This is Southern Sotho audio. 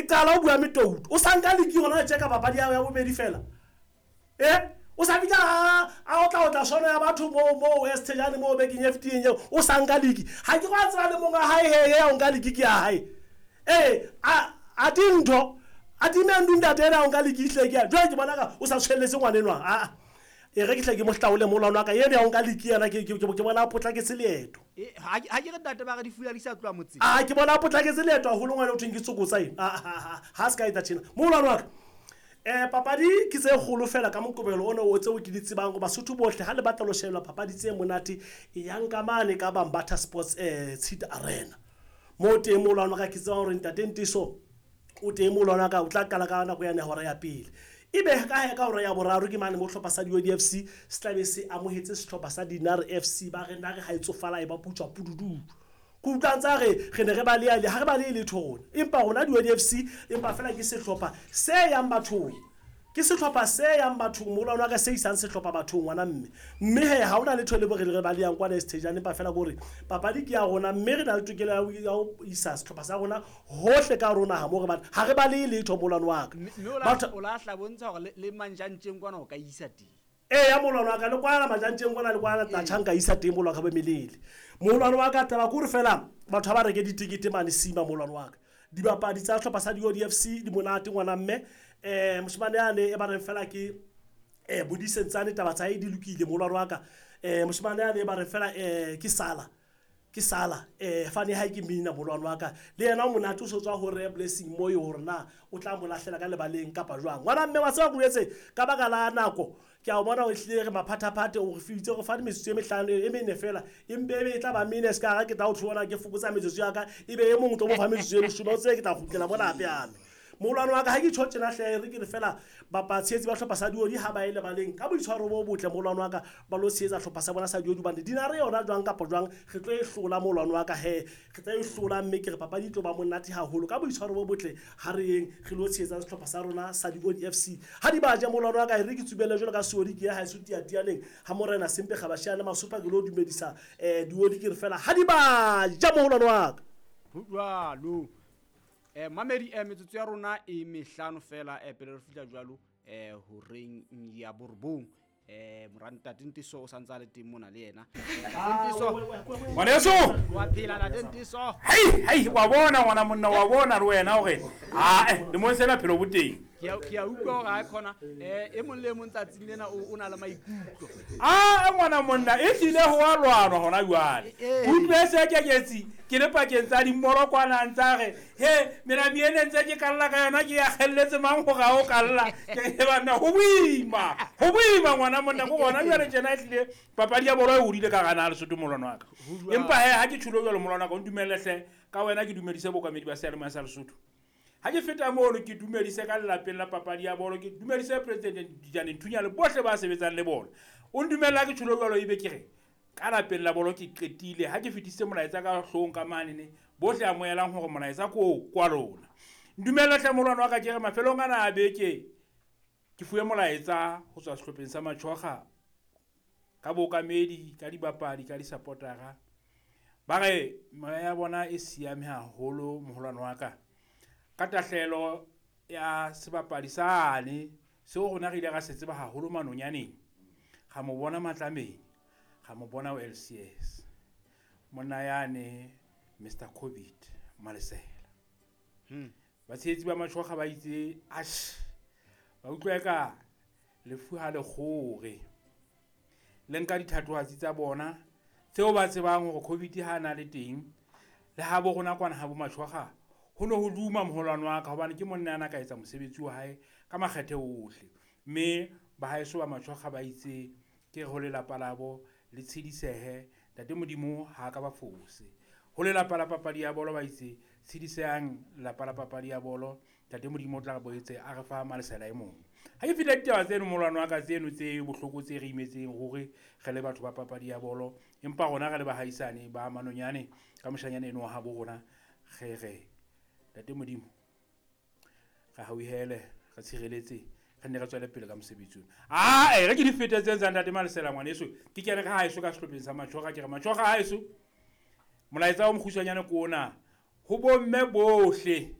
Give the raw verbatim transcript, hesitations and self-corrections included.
qala o bua metouto o sa nka liki hona tje ka papadi ya bobedi fela eh o sa bitsa a o tla o tla sono ya batho mo mo West Jane mo bekeng e fetileng eo o sa nka liki ha ke go tseba le monga hae he ya o nka liki ke ya hae eh a a dintho a dimendu ntate ena o nka liki hle ke ya jwale ke bona ka o sa tshweletse ngwanenwa a e re ke hle ke mo hlaole molwana wa ka yena ya o nka liki yena ke ke bona a potlaketse leeto e ha ke re ntate ba re di fula di sa tloha motseng a ke bona a potlaketse leeto haholo ngwana o thweng ke tsokotsa eng a ha se ka etsa tjena molwana wa ka eh papadi ke tse kgolo fela ka Moqebelo ona o tseo ke di tsebang go Basotho bohle ha le batla lo shebella papadi tse monate e yang ka mane ka Bambatha Sports eh Tshita Arena mo teng molwana wa ka ke tseba hore ntate Ntiso o teng molwana wa ka o tla qala ka nako ya hora ya pele ebe ka he ka hora ya boraro ke mane mo hlopha sa D O D F C se tlabe se amohetse sehlopha sa Dinare F C ba re nare ha e tsofala e ba putswa pududu ke utlwa ntse re re ne re ba le ha re ba le letho rona empa rona D O D F C empa fela ke sehlopha se yang bathong ke sehlopha se yang bathong molwana wa ka se isang sehlopha bathong ngwana mme mme he ha ona letho le bo re re ba le yang kwana Stadium empa fela gore papadi ke ya rona mme re na le tokelo ya ho isa sehlopha sa rona hohle ka rona ha mo re ba ha re ba le letho molwana wa ka mme o la hla bontsha hore le manjantjeng kwana o ka isa teng e ya molwana wa ka le kwana majantjeng kwana le kwana tla tjhanka isa teng molwana ka bo melele molwana wa ka taba kore fela batho ba reke ditikete mane sima molwana wa ka dibapadi tsa hlopha sa D O D F C di monate ngwana mme eh moshimane ane e ba reng fela ke eh bodisentsane taba tsa e di lokile molwana wa ka eh moshimane ane e ba reng fela eh ke sala ke sala eh fane ha ke mina molwana wa ka le yena o monate o sotswa hore Blessing Moyo hore na o tla mo lahlela ka lebaleng kapa jwang ngwana mme wa tseba go etse ka baka la nako ke a bona o hlile re maphathaphathe o re fitse go fa metsotso e mehlano e mene fela empe e tla ba mene se ka ga ke tla o tshwana ke fokotsa metsotso ya ka ebe e mong tlo mo fa metsotso e leshome o tsebe ke tla kgutlela bona hape hape molwana wa ka ha ke tjho tjena hle re ke re fela bapatshetsi ba hlopha sa Diodi ha ba ile baleng ka boitshwaro bo botle molwana wa ka ba lo tshehetsa hlopha sa bona sa Diodi bane Dinare yona jwang kapa jwang re tlo e hlola molwana wa ka he re tla e hlola mme ke re papadi tlo ba monate haholo ka boitshwaro bo botle ha re yeng re lo tshehetsa sehlopha sa rona sa Diodi F C ha di ba ja molwana wa ka re ke tsubele jwalo ka Seodi ke ya ha e sutia tialeng ha morena Sempe Kgabashane Masupa ke lo dumedisa eh Diodi ke re fela ha di ba ja molwana wa ka ho jwalo eh mamedi eh metsotso ya rona e mehlano fela eh pele re fihla jwalo eh horeng ya borobong eh morantate Ntiso o santse a le teng mona le yena Ntiso ngwaneso wa phela la Ntiso hei hei wa bona ngwana monna wa bona le wena hore ah eh le mo sena phelo boteng ke a utlwa hore ha khona eh e mong le mong tsatsing lena o na le maikutlo ah ngwana monna e tlile ho wa lwanwa hona jwale utlwe se keketsi ke le pakeng tsa dimolo kwana ntsa re he mena miene ntse ke kalla ka yona ke ya kgelletse mang hore ha o kalla ke bana ho boima ho boima ngwana monna go bona jwale tjena e tlile papadi ya bolo e hodile ka gana Lesotho molwana wa ka empa he ha ke tjhulo jwalo molwana wa ka o ntumelle hle ka wena ke dumedise bokamedi ba seyalemoya sa Lesotho ha ke feta mono ke dumedise ka lelapeng la papadi ya bolo ke dumedise president Dijane Nthunya le bohle ba sebetsang le bona o ntumella ke tjhulo jwalo ebe ke re ka lapeng la bolo ke qetile ha ke fetise molaetsa ka hlong ka mane ne bohle amohelang hore molaetsa ko kwa lona ntumella hle molwana wa ka ke re mafelong ana a beke ke fuwe molaetsa ho tswa sehlopheng sa Matjhoga ka bokamedi ka dibapadi ka di-supportera ba re moya ya bona e siame haholo moholwane wa ka ka tahlelo ya sebapadi sane seo rona re ile ra se tseba haholo manonyaneng ga mo bona Matlameng ga mo bona o L C S monna yane Mister Covid Malesela hmm batshehetsi ba Matjhoga ba itse ash ba utlwa ka lefu ha le kgore le nka dithatohatsi tsa bona tseo ba tsebang hore Covid ha na le teng le ha bo rona kwana ha bo Matjhoga ho no ho duma moholwane wa ka hobane ke monna ana ka etsa mosebetsi wa hae ka makgethe ohle mme ba haeso ba Matjhoga ba itse ke ho lelapa labo le tshedisehe ntate Modimo ha ka ba fose ho lelapa la papadi ya bolo ba itse tshedisehang lelapa la papadi ya bolo ntate Modimo o tla boetse a re fa Malesela e mong ha ke fihla ditaba tseno molwana wa ka tseno tse bohloko tse re imetseng hore re le batho ba papadi ya bolo empa rona re le bahaisane ba Manonyane ka moshanyana eno wa habo rona re re ntate Modimo re hauhele re tshireletse re nne re tswele pele ka mosebetsi ona ah e re ke di fetetseng tsa ntate Malesela ngwaneso ke kene ka haeso ka sehlopheng sa Matjhoga ke re Matjhoga haeso molaetsa o mokgutshwanyane ko ona ho bomme bohle